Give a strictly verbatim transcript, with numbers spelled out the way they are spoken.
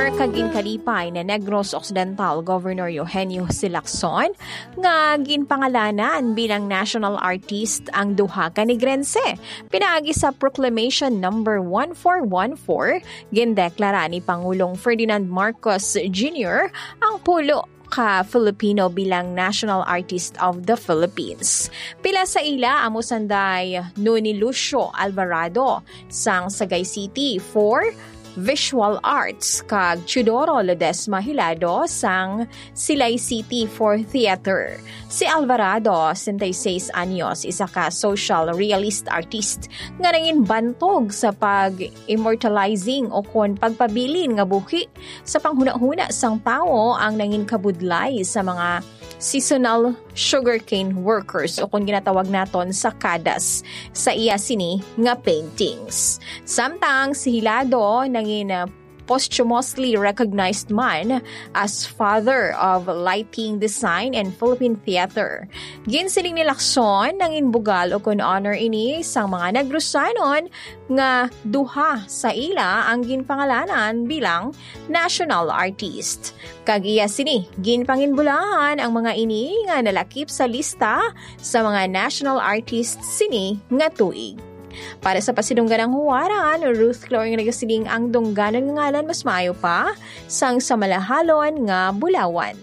Kag ginkalipay ni Negros Occidental Governor Eugenio Jose Lacson nga ginpangalanan bilang national artist ang duha ka Negrense. Pinaagi sa Proclamation Number one four one four, gindeklara ni Pangulong Ferdinand Marcos Junior ang pulo ka Filipino bilang National Artist of the Philippines. Pila sa ila amo sanday Noni Lucio Alvarado sang Sagay City for Visual Arts kag Teodoro Ledesma Hilado sang Silay City for Theater. Si Alvarado, sesenta y seis anyos, isa ka social realist artist nga nangin bantog sa pag-immortalizing o kon pagpabilin nga buhi sa panghunahuna sang tawo ang nangin kabudlay sa mga seasonal sugarcane workers o kung ginatawag naton sakadas sa iya sini nga paintings. Samtang si Hilado nangin uh, posthumously recognized man as father of lighting design and Philippine theater. Ginsiling ni Lacson nangin bugal o kun honor ini sang mga Negrusanon nga duha sa ila ang ginpangalanan bilang national artist. Kag iya sini, ginpanginbulahan ang mga ini nga nalakip sa lista sa mga national artists sini nga tuig. Para sa pasidungganang huwaran, Ruth Cloring nagasiling ang dungganan nga ngalan mas maayo pa sang sa malahalon nga bulawan.